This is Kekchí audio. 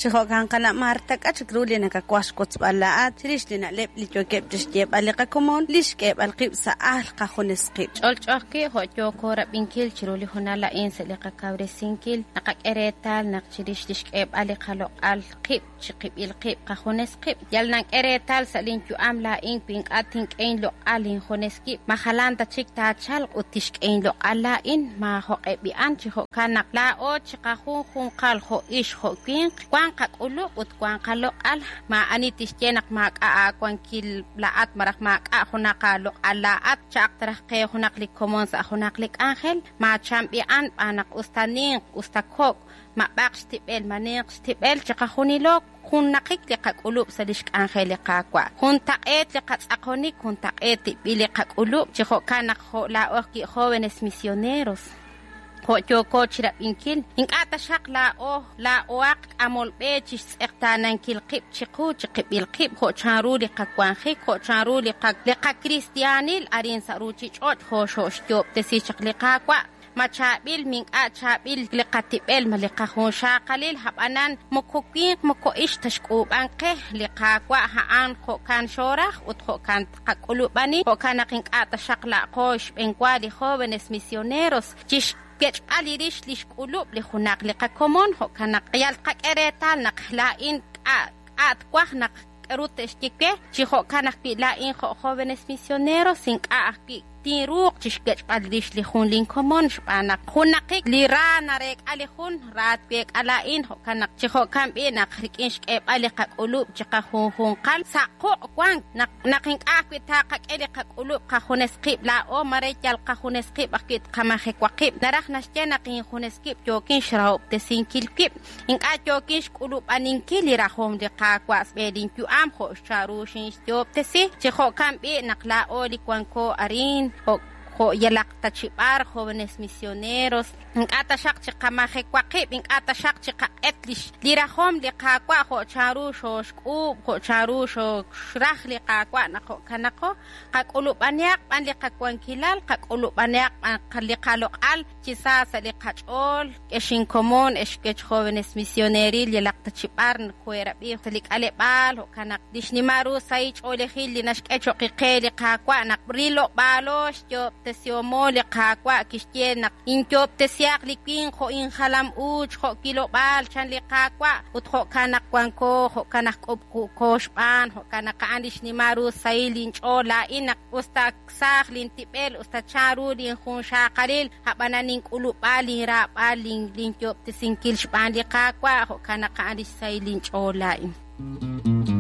Chi jo'kan qana' Marta, k'a' chik ru li nakawaj xwotzb'al laa'at chirix li na'leb' li yookeb' chi xyeeb'al li qakomon, li xk'eeb'al qib' sa' ajl qajunes qib'. Ch'olch'o ajwi' jo' yooko rab'inkil chiru li hoonal a'in sa' li qakawresinkil, naqak'e reetal naq chirix li xk'eeb'al li qaloq'al qib' chiqib'il qib' qajunes qib', yal nank'e reetal sa' linyu'am laa'in wi ink'a' tink'e inloq'al injunes wib', ma jalan ta chik taachalq ut tixk'e inloq'al laa'in, maajoq'e b'i'an. Chi jo'kan naq laa'o chiqajunjunqal jo' ixq jo' winq, wank qak'ulub' ut wank qaloq'al. Maa'ani tixye naq maak'a' aawankil laa'at malaj maak'a' junaq aaloq'al laa'at, cha'aq ta raj qe junaq li komon sa' junaq li k'anjel, maachan b'i'an b'aan naq us ta ninq, us ta kok', ma b'aq xtib'el, ma ninq xtib'el, chiqajunilo junnaqik li qak'ulub' sa' lix k'anjel li Qaawa'. Juntaq'eet li qatz'aqonik, juntaq'eet tib'il li qak'ulub', chi jo'kan naq jo' laa'o ajwi' jóvenes misioneros, jo' yooko chirab'inkil, ink'a' taxaq laa'o laa'ohaq k'amol b'e chixtz'eqtaanankil qib' chiqu chiqib'il qib' jo' chanru li qawanjik, jo' chanru li qakristiaanil arin sa' ruchich'och' jo' xoxyo'ob'tesi chaq li Qaawa'. Ma chaab'il, ma ink'a' chaab'il li qatib'el, ma li qajunxaqalil, ab'anan moko winq moko ixq ta xk'uub'ank qe li Qaawa' a'an jo'kan xooraj ut jo'kan tqak'ulub'ani, jo'kan naq ink'a' taxaq la'qo xb'enwa li jóvenes misioneros chixwech'b'al li rix li xk'ulub' li junaq li qakomon, jo'kan naq yal tqak'e reetal naq laa'in k'a' twaj naq k'aru te'xye we, chi jo'kan ajwi' laa'in jo' jóvenes misioneros ink'a' ajwi' tinruuq chixwech'b'al rix li jun linkomon xb'aan naq junnaqik li ra nareek'a li jun ra tweek'a laa'in, jo'kan naq chi jo'kan b'i' naq rik'in xk'eeb'al li qak'ulub' chiqajunjunqal sa' quq' wank naq ink'a' ajwi' taqak'e li qak'ulub' qajunes qib' laa'o mare yal qajunes qib' ajwi' tqamajewa qib', naraj naxye naq injunes wib' yookin xrahob'tesinkil wib', ink'a' yookin xk'ulub'aninkil li rajom li Qaawa' sa' linyu'am jo' xcharu xinxyo'ob'tesi, chi jo'kan b'i' naq laa'o li wanko arin jo' yalaq ta chi b'ar jóvenes misioneros, ink'a' taxaq chiqamajewa qib', ink'a' taxaq chiqaq'et li rajom li Qaawa' jo' chanru xooxk'uub', jo' chanru xooxraj li Qaawa' naq jo'kanaqo, qak'ulub'anihaq b'an li qawankilal, qak'ulub'anihaq b'an li qaloq'al chi sa sa' li qach'ool, ex inkomon, ex wech jóvenes misioneril yalaq ta chi b'ar nkoherab'i sa' li k'aleb'aal, jo'kan naq li xnimal ru sahil ch'oolejil li naxk'e cho'q qe li Qaawa' naq rilob'aalo xyo'ob'tesihomo li Qaawa' kixye naq inyo'ob'tesihaq li winq jo' injalam uuch jo' wilob'aal chan li Qaawa' ut jo'kan naq wanko, jo'kan naq k'ub'k'uko xb'aan, jo'kan naq a'an li xnimal ru sahil inch'ool laa'in naq us ta saaj lintib'el, us ta chanru linjunxaqalil, ab'anan nink'ulub'a linraab'al linyo'ob'tesinkil xb'aan li Qaawa', jo'kan naq a'an li xsahil inch'ool laa'in.